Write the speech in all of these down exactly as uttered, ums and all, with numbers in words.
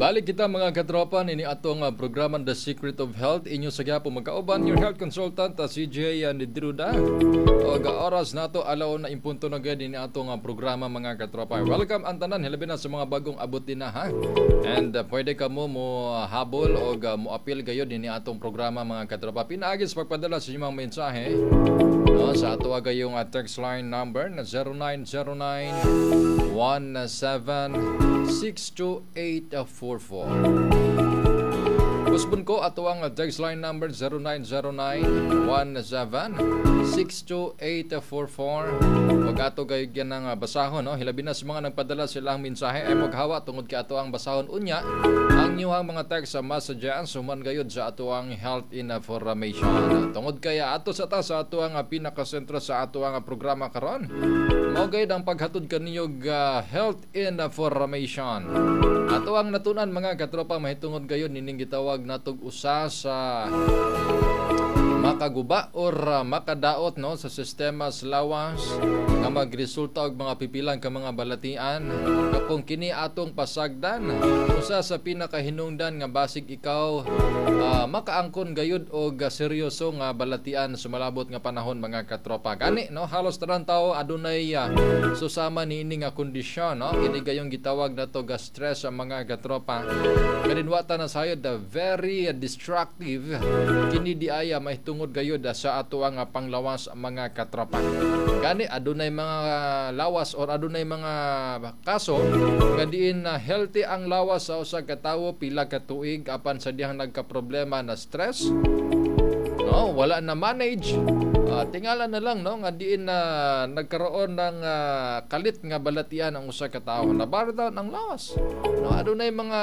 Balik kita, mga katropa, nini atong uh, programa The Secret of Health. Inyo sa gyapon magkauban your health consultant, uh, C J uh, Nidruda. Og oras nato, alauna in punto na gid ini atong uh, programa, mga katropa. Welcome ang tanan, hilabi na sa mga bagong abot din na ha. And uh, pwede kamo mo uh, habol og uh, mo apil gayud nini atong programa, mga katropa. Pinaagi sa pagpadala sa inyong mga mensahe, no, sa ato gayong uh, text line number na zero nine zero nine one seven six two eight four four. Usbon ko ato ang text line number zero nine zero nine one seven six two eight four four ug ato kay ganang basahon, no, hilabi na sa mga nagpadala silang mensahe ay maghawa tungod kay ato ang basahon unya ang inyong mga text sa messages human gayud sa ato ang health information tungod kay ato sa ta sa ato ang pinakasentro sa ato ang programa karon mao gayud ang paghatod kaninyo uh, health information. Ato ang natunan, mga katropa, mahitungod gayud nining gitawag natog usa sa makaguba or uh, makadaot, no, sa sistema sa lawas nga magresulta og mga pipilang ka mga balatian nga kung kini atong pasagdan, usa sa pinakahinungdan nga basig ikaw uh, makaangkon gayud og uh, seryoso nga balatian sa malabot nga panahon, mga katropa. Gani, no, halos tanan tao adunay uh, susama niini nga kondisyon, no, kini gayong gitawag nato ga stress sa mga katropa. Kanin wa ta na sayod the very destructive kini diaya mahitungod gayud sa ato ang panglawas, mga katropa. Gani adunay mga lawas or adunay mga kaso nga diin na healthy ang lawas sa usa ka tawo pila ka tuig, apan sa dihang nagka-problema na stress, no, wala na manage, uh, tingala na lang, no, nga diin na nagkaroon ng uh, kalit nga balatian ang usa ka tawo, na down ang lawas, no. Adunay mga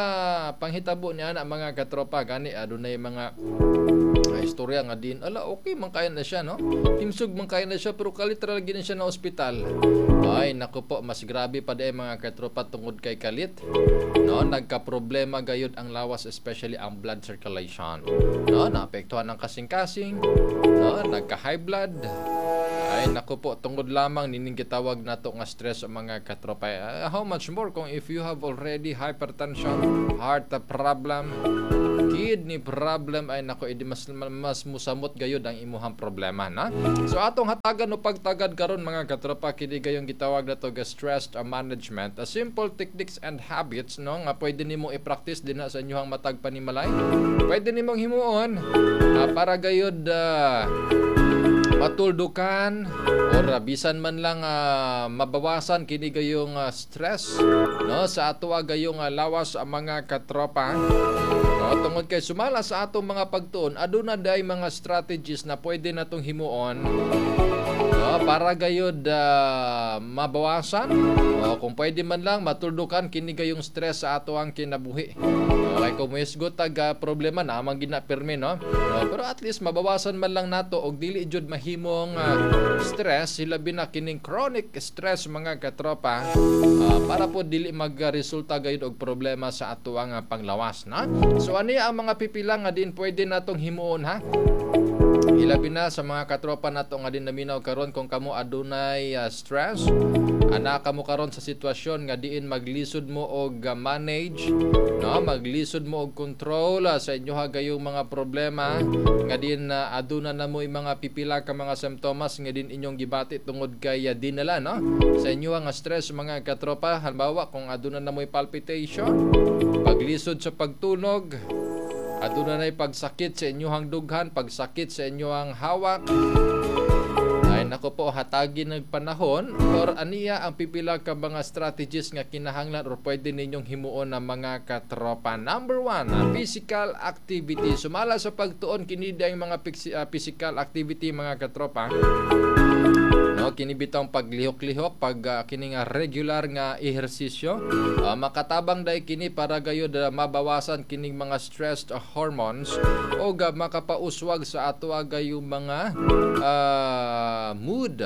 panghitabo niya na, mga katropa. Gani adunay mga uh, istorya nga din ala okay man kaya na siya, no, himsog man kaya na siya, pero kalit ra lagi na siya na ospital. Ay nako po, mas grabe pa diay, mga katropa, tungod kay kalit, no, nagka-problema gayud ang lawas, especially ang blood circulation, no, naapektuhan ang kasing-kasing, no, nagka-high blood. Ay nako po, tungod lamang nining gitawag nato nga stress, mga katropa. Uh, how much more kung if you have already hypertension, heart problem, kidney problem? Ay nako, idi mas mas musamot gayud ang imuhang problema na. So atong hatagan o pagtagad karon, mga katropa, kini gayong gitawag nato ga stress management, a simple techniques and habits, no, nga pwede nimo i-practice dinha sa inyong matag panimalay. Pwede nimong himuon uh, para gayud uh, matuldukan or uh, bisan man lang uh, mabawasan kini gayong uh, stress, no, sa ato gayong uh, lawas ang mga katropa, no, tungod kay sumala sa atong mga pagtuon, aduna day mga strategies na pwede natong himuon, no, para gayud uh, mabawasan o kung pwede man lang matuldukan kini gayong stress sa ato ang kinabuhi. Okay, kung muhisgot tag uh, problema na amang gina pirmi, no? Uh, pero at least mabawasan man lang nato og dili jud mahimong uh, stress, hilabi na kining chronic stress, mga katropa, uh, para po dili magresulta gayud og problema sa ato ang uh, panglawas na. So ani ang mga pipila nga din pwede natong himuon ha. Hilabi na sa mga katropa nato nga din naminaw karon, kung kamo adunay uh, stress, ana kamo karon sa sitwasyon nga diin maglisod mo og uh, manage, no, maglisod mo og control uh, sa inyo gayong mga problema nga din uh, aduna na mo mga pipila ka mga simptomas nga din inyong gibati tungod kay uh, dinala, no, sa inyo nga stress, mga katropa. Halimbawa, kung aduna na mo palpitation, paglisod sa pagtunog, aduna nay pagsakit sa inyong dughan, pagsakit sa inyong hawak. Ay nako po, hatagi ng panahon or aniya ang pipila ka mga strategies nga kinahanglan or pwede ninyong himuon na, mga katropa. Number one, physical activity. Sumala sa pagtuon, kini ang mga ah, physical activity, mga katropa. No, kini bitawng paglihok-lihok, pag uh, kini nga regular nga ehersisyo, uh, makatabang dai kini para gayud uh, mabawasan kining mga stressed uh, hormones o uh, makapauswag sa ato gayong mga uh, mood.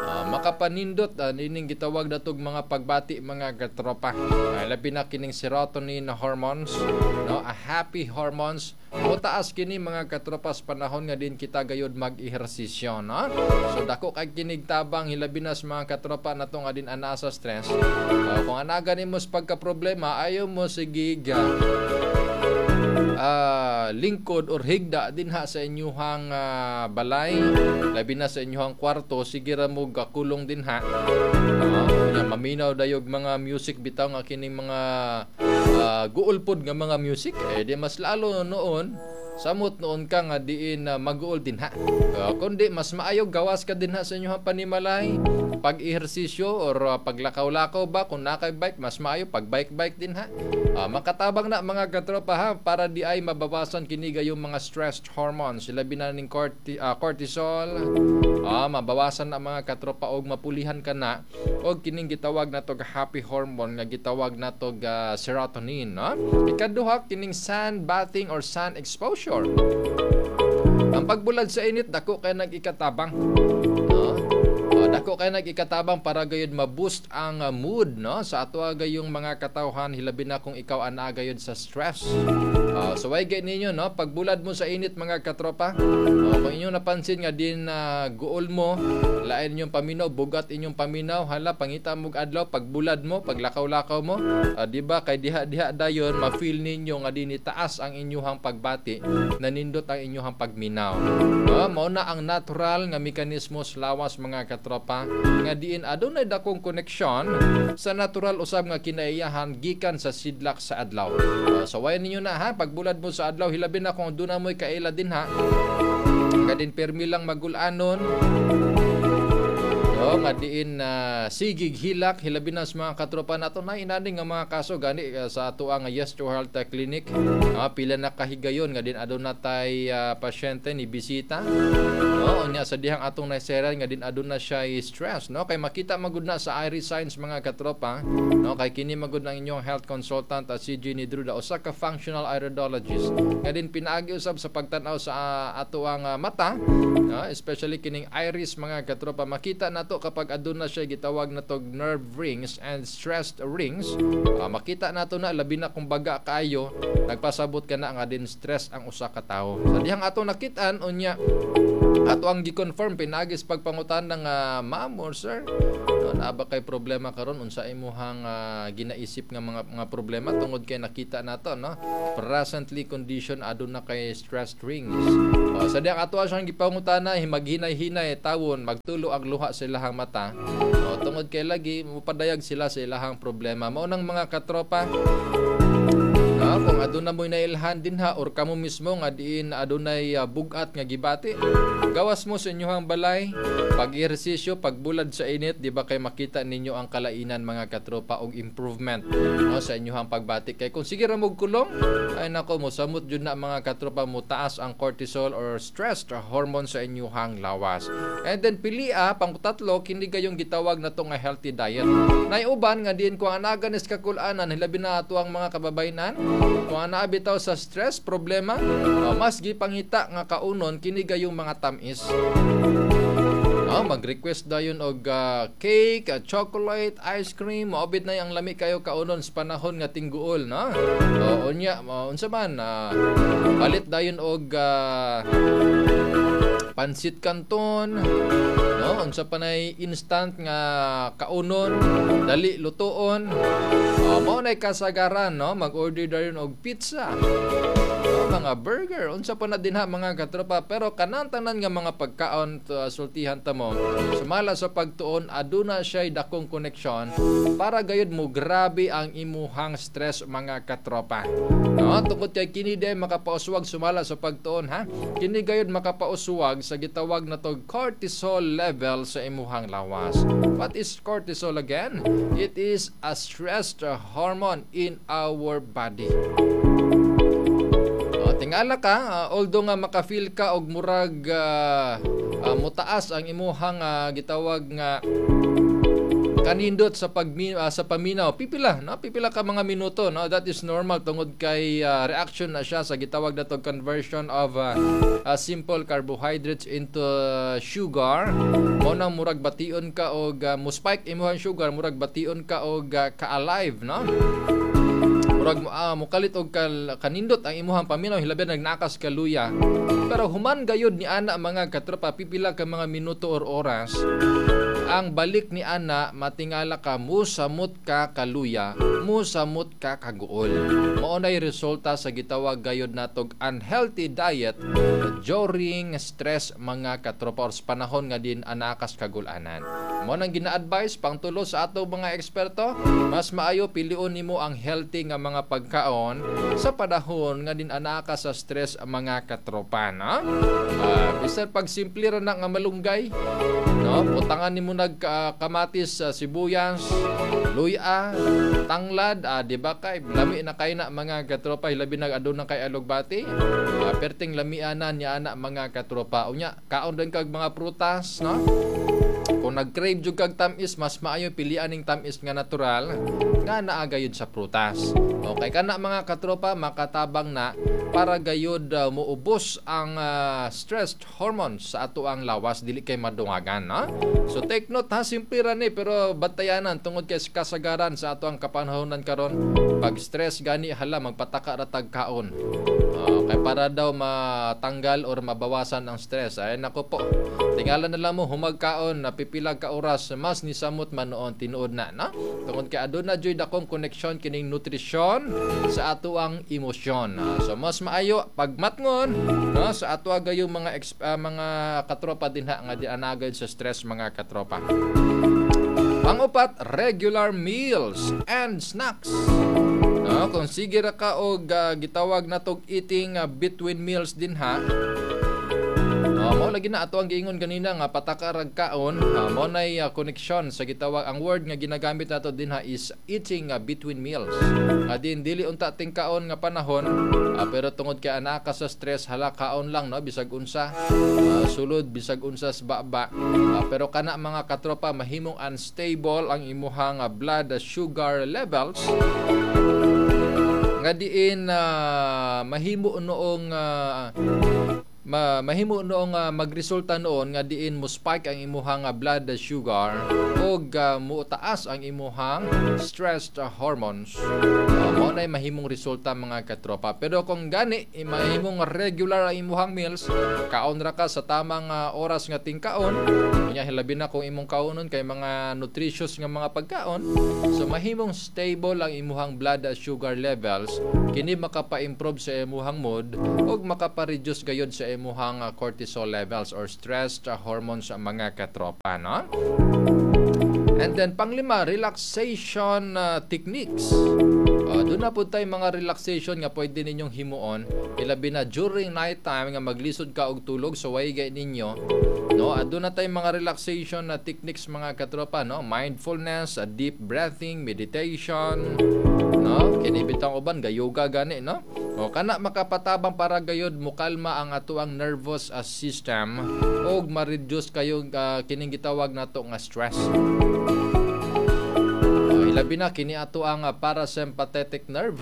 Uh, makapanindot uh, nining gitawag natog mga pagbati, mga katropa. Uh, labi na kining serotonin hormones, no, a happy hormones, motaas kini, mga katropa, sa panahon nga din kita gayud mag-ehersisyo, no? So dako kay kinig tabang, hilabi na sa mga katropa nato nga din anaa sa stress. Uh, kung ana gani mo sa pagka-problema, ayaw mo sige uh, lingkod or higda dinha sa inyuhang uh, balay, labi na sa inyuhang kwarto, sige ra mo gakulong dinha. Uh, maminaw dayog mga music bitaw nga kining mga uh, guol pod nga mga music, eh di mas lalo noon samot noon ka nga diin uh, maguol dinha. Uh, kundi mas maayo gawas ka dinha sa inyong panimalay, pag-ehersisyo or uh, paglakaw-lakaw ba. Kung nakay bike, mas maayo pag bike-bike dinha. Uh, makatabang na, mga katropa, ha, para di ay mabawasan kini yung mga stress hormones, labi na ning corti, uh, cortisol. Uh, mabawasan na, mga katropa, og mapulihan ka na og kining gitawag na tog happy hormone nga gitawag na tog uh, serotonin, no? Ikaduha, kining sun bathing or sun exposure. Ang pagbulad sa init, dako kay nag-ikatabang. No? Uh, dako kay nag-ikatabang para gayud ma-boost ang uh, mood, no, sa ato gayong mga katawhan, hilabi na kung ikaw anaa gayud sa stress. Uh, so way gay ninyo, no, pagbulad mo sa init, mga katropa. Uh, kung inyo napansin nga din uh, guol mo, lain inyong paminaw, bugat inyong paminaw, hala, pangita mo adlaw, pagbulad mo, paglakaw-lakaw mo, uh, di ba kay diha-diha dayon ma-feel ninyo nga din taas ang inyuhang pagbati, nanindot ang inyuhang pagminaw. Uh, mao na ang natural nga mekanismo sa lawas, mga katropa, nga diin adunay dakong koneksyon sa natural usab nga kinaiyahan gikan sa sidlak sa adlaw. Uh, so way ninyo na ha, pagbulad mo sa adlaw, hilabi na kung aduna mo'y kaila dinha nga din permi lang magulanon, no, nga diin na uh, sigig hilak, hilabi na sa mga katropa nato na inani nga mga kaso gani uh, sa ato nga Yes to Health Clinic. Uh, pila na kahigayon nga din aduna tay uh, pasyente ni bisita. No, unya sa dihang atong naiseran nga din aduna siya stress, no, kay makita magud na sa iris signs, mga katropa, no, kay kini magud ang inyong health consultant at si Jenny Druda, usa ka functional iridologist nga din pinaagi usab sa pagtan-aw sa uh, ato ang uh, mata, no, especially kining iris, mga katropa. Makita nato kapag aduna siya gitawag na tog nerve rings and stressed rings. Uh, makita nato na, labi na kung baga kaayo, nagpasabot ka na nga din stress ang usa ka tawo. Sa dihang ato nakitaan, unya ato ang gi-confirm pinagis pagpangutan ng uh, ma'am or sir, no, naa ba kay problema karon, unsa imuhang uh, ginaisip nga mga mga problema, tungod kay nakita nato, no, presently condition aduna kay stress rings. Uh, sa dihang ato siyang gipangutana, maghinay-hinay tawon, magtulo ang luha sa ilahang mata, no, tungod kay lagi mupadayag sila sa ilahang problema. Mao nang, mga katropa, no, kung aduna mo'y nailhan dinha or kamo mismo nga diin adunay uh, bugat nga gibati, gawas mo sa inyong balay, pag-ehersisyo, pagbulad sa init, di ba kay makita ninyo ang kalainan, mga katropa, og improvement, no, sa inyong pagbati. Kay kung sige ra mo kulong, ay nako, mosamot jud na, mga katropa, mo taas ang cortisol or stress or hormone sa inyong lawas. And then pilia, pangtatlo, kini gayong gitawag na to nga healthy diet. Nay uban nga diin kung anaa ganis kakulanan, hilabi na ato ang mga kababayenan, kung anaa bitaw sa stress, problema, uh, mas gipangita nga kaunon kini gayong mga tamis. No, mag-request dayon og uh, cake, uh, chocolate, ice cream, maobit na ang lami kayo kaunon sa panahon nga tingguol, no? O unya, uh, unsa man, uh, palit dayon og uh, pansit canton, no? Unsa pa nay instant nga kaunon, dali lutuon. Uh, mao nay kasagaran, no? Mag-order dayon og pizza, no? Mga burger, unsa pa na dinha, mga katropa, pero kanang tanan nga mga pagkaon to, uh, sultihan ta mo, sumala sa pagtuon aduna siya dakong koneksyon para gayud mo grabe ang imuhang stress, mga katropa. No, tungod kay kini day makapauswag, sumala sa pagtuon ha. Kini gayud makapauswag sa gitawag na tog cortisol level sa imuhang lawas. What is cortisol again? It is a stress hormone in our body. Oh, tingala ka, uh, although nga maka-feel ka og murag uh, uh, mutaas ang imuhang uh, gitawag nga Kanindot sa pagmi uh, sa paminaw, pipila, no? Pipila ka mga minuto, no? That is normal tungod kay uh, reaction na siya sa gitawag nato conversion of uh, uh, simple carbohydrates into uh, sugar. Mao nang murag bation ka og uh, mo spike imuhang sugar, murag bation ka og uh, ka-alive, no? Murag uh, mukalit og kal, kanindot ang imuhang paminaw, hilabi nagnakas ka luya. Pero human gayud ni ana, mga katropa, pipila ka mga minuto or oras, ang balik ni ana, matingala ka, musamot ka kaluya, musamot ka kaguol. Mao nay resulta sa gitawag gayud natog unhealthy diet during stress, mga katropa, or sa panahon nga din anakas kagulanan. Mao nang gina-advise pangtulo sa ato mga eksperto, mas maayo pilion nimo ang healthy nga mga pagkaon sa panahon nga din anaka sa stress, mga katropa, no? Uh, bisan pag simple ra na nga malunggay, no? Butangan nimo nag uh, kamatis, uh, sibuyas, luya, tanglad, uh, di ba kay lami na kay na, mga katropa, hilabi nag aduna kay alugbati. Uh, perting lamianan niya ana, mga katropa. Unya, kaon din kag mga prutas, no? Kung nag-crave jud kag tamis, mas maayo pilian ning tamis nga natural nga naa gayud sa prutas. Okay kana, mga katropa, makatabang na para gayud uh, muubos ang uh, stress hormones sa ato ang lawas, dili kay madungagan, no? So take note ha, simple ra ni pero bantayanan tungod kay kasagaran sa ato ang kapanahonan karon, pag stress gani, hala, magpataka ra tag kaon. Uh, kay para daw matanggal or mabawasan ang stress. Ay nako po. Tingala na lang mo humagkaon na pipila ka oras, mas nisamot man noon tinuod na, no? Tungod kay aduna joy dakong koneksyon kining nutrisyon sa ato ang emosyon. Uh, so mas maayo pagmatngon, no, sa ato gayong mga uh, mga katropa dinha nga di anagad sa stress, mga katropa. Pangupat, regular meals and snacks. No, kung sige ra ka og uh, gitawag natog eating uh, between meals dinha. Uh, mao lagi na ato ang giingon ganina nga pataka rag kaon, uh, mao nay uh, koneksyon sa gitawag, ang word nga ginagamit nato dinha is eating uh, between meals. Uh, din dili unta ting kaon nga panahon, uh, pero tungod kay anaka sa stress, hala, kaon lang, no, bisag unsa uh, sulod, bisag unsa sa baba. Uh, pero kana, mga katropa, mahimong unstable ang imuhang uh, blood sugar levels nga diin uh, mahimo noong uh, ma mahimo noong uh, magresulta noon nga diin mo spike ang imuhang uh, blood sugar ug uh, motaas ang imuhang stress uh, hormones. Uh, mao nay mahimong resulta, mga katropa. Pero kung gani eh, mahimong regular ang imuhang meals, kaon ra ka sa tamang uh, oras nga tingkaon, unya hilabi na kung imong kaonon kay mga nutritious nga mga pagkaon, so mahimong stable ang imuhang blood sugar levels. Kini makapa-improve sa imuhang mood ug makapa-reduce gayud sa imuhang uh, cortisol levels or stress uh, hormones, mga katropa, no? And then panglima, relaxation uh, techniques. Uh, doon na po tayo mga relaxation nga pwede ninyong himuon, ilabi na during night time nga maglisod ka og tulog, so way gay ninyo, no? Aduna na tayo mga relaxation na techniques, mga katropa, no? Mindfulness, uh, deep breathing, meditation, no? Kini bitang uban ga yoga gani, no? O kana makapatabang para gayod mukalma ang atoang nervous uh, system ug ma-reduce kayo uh, kining gitawag nato nga stress. Uh, ilabi na kini ato ang uh, parasympathetic nerve.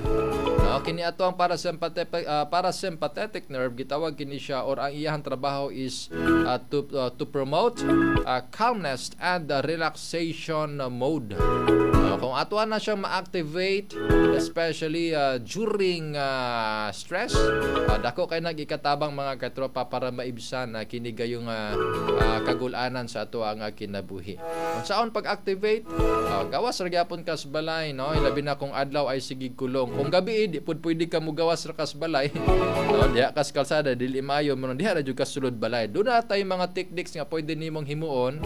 No, kini ato ang parasympathetic uh, parasympathetic nerve, gitawag kini siya or ang iyang trabaho is uh, to uh, to promote uh, calmness and uh, relaxation mode. Uh, kung ato na siyang ma-activate, especially uh, during uh, stress, uh, dako kay nagikatabang, mga katropa, para maibsan na uh, kini gayong uh, uh, kagulanan sa ato ang uh, kinabuhi. Kung saon pag-activate, uh, gawas ra gyapon ka sa balay, no? Ilabi na kung adlaw ay sige kulong. Kung gabi, di pud pwede ka mugawas ra ka sa balay, no? Diha ka sa kalsada, dili maayo mo diha ra jud ka sulod balay. Duna tay mga techniques nga pwede nimong himuon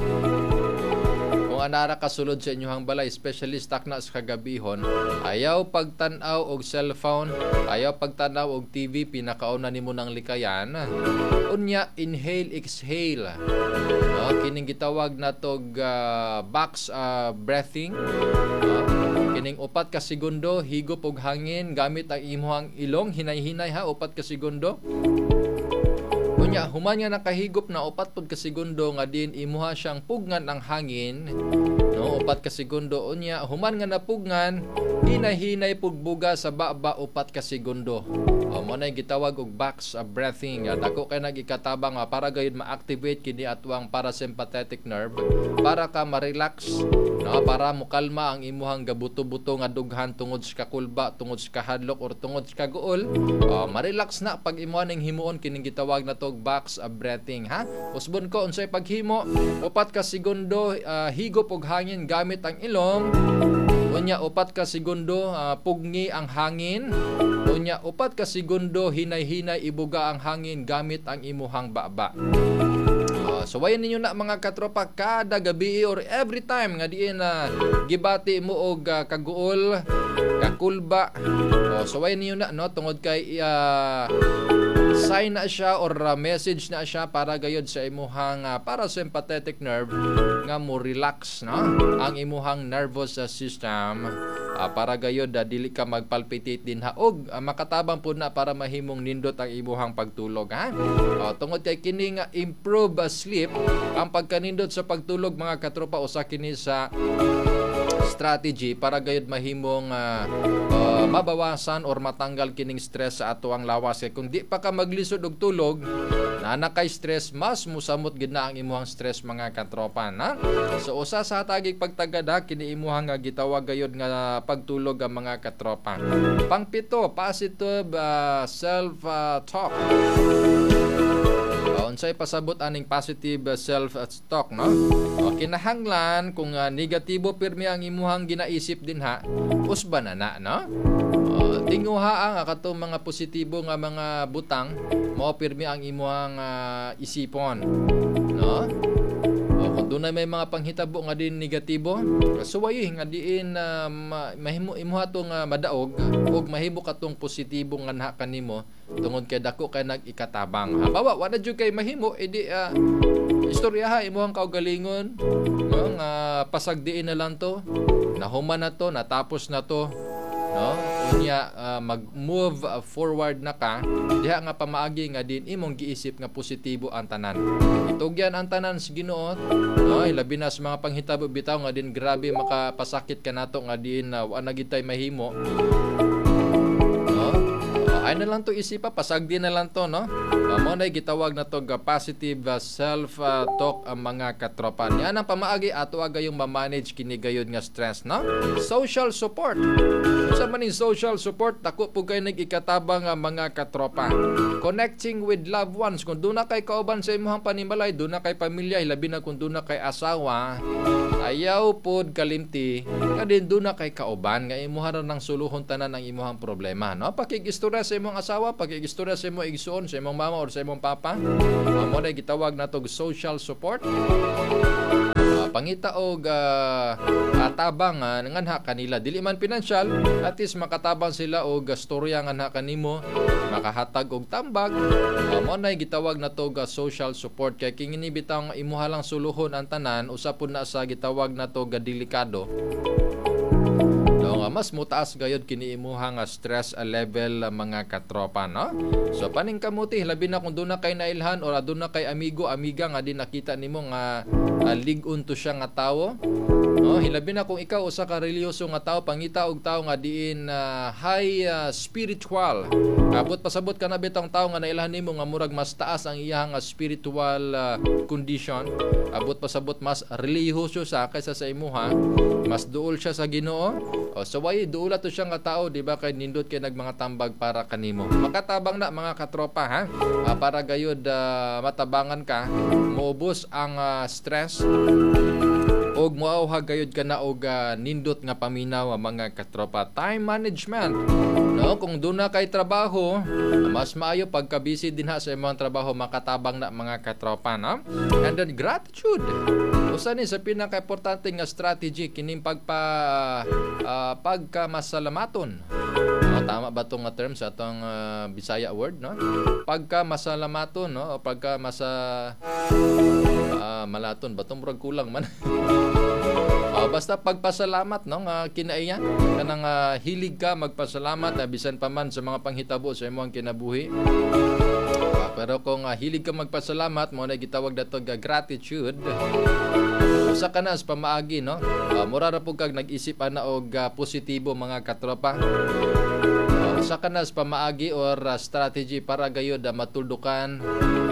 kung anara ka sulod sa inyong balay, especially takna sa kagabihon. Ayaw pagtan-aw og cellphone, ayaw pagtan-aw og T V, pinakauna nimo nang likayan. Unya, inhale, exhale, no? Kining gitawag natog uh, box uh, breathing, no? Kining upat ka segundo higop og hangin gamit ang imong ilong, hinay-hinay ha, upat ka segundo. Unya human nga nakahigop na, upat pud ka segundo nga din imuha siyang pugnan ang hangin, no? Upat ka segundo. Unya human nga napugnan, hinay-hinay pugbuga sa baba, upat ka segundo. O, mo na gitawag og box uh, breathing. Uh, dako kay nagikatabang uh, para gayud ma-activate kini atuang parasympathetic nerve para ka ma-relax, no, para mukalma ang imuhang gabuto-buto nga dughan tungod sa kakulba, tungod sa kahadlok or tungod sa kaguol. uh, ma-relax na pag imuha ning himuon kining gitawag na tog box uh, breathing, ha. Usbon ko unsay paghimo: upat ka segundo uh, higop og hangin gamit ang ilong. Unya upat ka segundo uh, pugni ang hangin. Unya upat ka segundo hinay-hinay ibuga ang hangin gamit ang imuhang baba. Uh, so wayan ninyo na, mga katropa, kada gabi or every time nga diin na uh, gibati mo og uh, kaguol, kakulba. Oh, so wayan ninyo na, no, tungod kay uh, sign na siya or uh, message na siya para gayod sa imuhang uh, parasympathetic nerve nga mo relax, no, ang imuhang nervous uh, system uh, para gayod uh, dili ka magpalpitate din ha, og uh, makatabang pud na para mahimong nindot ang imuhang pagtulog, ha. Uh, tungod kay kini nga improve uh, sleep, ang pagkanindot sa pagtulog, mga katropa, usa kini sa strategy para gayud mahimong uh, uh, mabawasan or matanggal kining stress sa ato ang lawas. Kay kung di pa ka maglisod og tulog, naa kay stress, mas musamot gid na ang imuhang stress, mga katropa, na. So usa sa hatagig pagtagad ha, kini imuhang nga gitawag gayud nga pagtulog ang mga katropa. Pangpito, positive uh, self uh, talk. Uh, unsay pasabot aning positive self talk, no? O, kinahanglan kung uh, negatibo pirmi ang imuhang ginaisip din ha, usba na na, no? O, tinguha ang katong mga positibo nga mga butang mao pirmi ang imuhang uh, isipon, no? O, kung dunay may mga panghitabo nga din negatibo, suwayi nga diin uh, mahimo imuha tong uh, madaog ug mahimo katong positibo nga na kanimo tungod kay dako kay nag-ikatabang. Halimbawa, wala jud kay mahimo, edi uh, istoryaha imuhang kaugalingon, no, nga pasagdiin na lang to, nahuman na to, natapos na to, no? Unya uh, mag-move forward na ka diha nga pamaagi nga din imong giisip nga positibo ang tanan. Itugyan ang tanan sa Ginoo, no? Labi na sa mga panghitabo bitaw nga din grabe makapasakit kanato nga din uh, wa na gid tay mahimo, no? Uh, ay na lang to isipa, pasagdi na lang to, no? Uh, mo na gitawag na to ga positive uh, self uh, talk ang mga katropa. Niya ang pamaagi ato agayong ma-manage kini gayud nga stress, no? Social support. Sa maning social support, dako po kay nag-ikatabang ang mga katropa. Connecting with loved ones. Kung doon na kay kauban sa imuhang panimalay, doon na kay pamilya, labi na kung doon na kay asawa, ayaw pod kalimti nga din doon na kay kauban nga imuha ra ng suluhon tanan ang imuhang problema, no? Pakigistorya sa imong asawa, pakigistorya sa imong igsuon, sa imong mama or sa imong papa. Uh, mo na gitawag natog social support. Uh, pangita og uh, atabang uh, nganha kanila, dili man pinansyal, at least makatabang sila og uh, storya nganha kanimo, makahatag og tambag. uh, mo na gitawag nato og uh, social support kay kini bitaw nga imuha lang suluhon ang tanan, usa pud na sa gitawag nato ga delikado, no, nga mas mutaas gayud kini imuha nga stress level, mga katropa, no? So paningkamuti, labi na kung doon na kay nailhan or aduna kay amigo, amiga nga di nakita nimo nga uh, lig-on to siya nga tawo, no? Hilabi na kung ikaw usa ka relihiyoso nga tawo, pangita og tawo nga diin uh, high uh, spiritual. Abot pasabot ka na bitong tawo nga nailhan nimo nga murag mas taas ang iyang uh, spiritual uh, condition. Abot pasabot mas relihiyoso sa kaysa sa imuha, mas duol siya sa Ginoo. O, so why duol to siya nga tao, di ba, kay nindot kay nagmanga tambag para kanimo. Makatabang na, mga katropa, ha. Uh, para gayud uh, matabangan ka, moubos ang uh, stress og moauhag gayud ka na og uh, nindot nga paminaw, mga katropa. Time management. No, kung doon na kay trabaho, mas maayo pagka busy din ha sa imong trabaho, makatabang na, mga katropa, no? And then gratitude. Usa ni sa pinaka-importante nga strategy kining pagpa uh, pagka masalamaton. No, tama ba tong nga term sa atong uh, Bisaya word, no? Pagka masalamaton, no? O pagka masa uh, malaton ba tong murag kulang man. Uh, basta pagpasalamat, no, nga kinaiya kanang uh, hilig ka magpasalamat uh, bisan pa man sa mga panghitabo sa imong kinabuhi. Uh, Pero kung uh, hilig ka magpasalamat, mao na gitawag nato ga gratitude. Usa ka na sa pamaagi, no? Uh, mura ra pud kag nag-isip ana og uh, positibo, mga katropa. Uh, usa ka na sa pamaagi or uh, strategy para gayud uh, matuldukan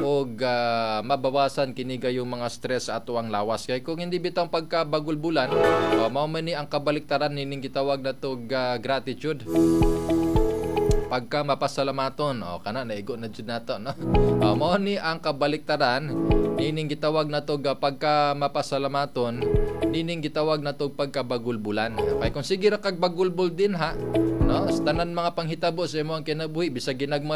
og uh, mabawasan kini gayong mga stress sa ato ang lawas. Kay kung hindi bitang pagkabagulbulan, uh, mao man ni ang kabaliktaran nining gitawag nato uh, gratitude, pagka mapasalamaton. O kana, naigo na jud nato, no? uh, mao ni ang kabaliktaran nining gitawag nato ga pagka mapasalamaton nining gitawag nato pagkabagulbulan. Kay kung sige ra kag bagulbul din ha, no, sa tanan mga panghitabo sa imong kinabuhi, bisag ginagmay.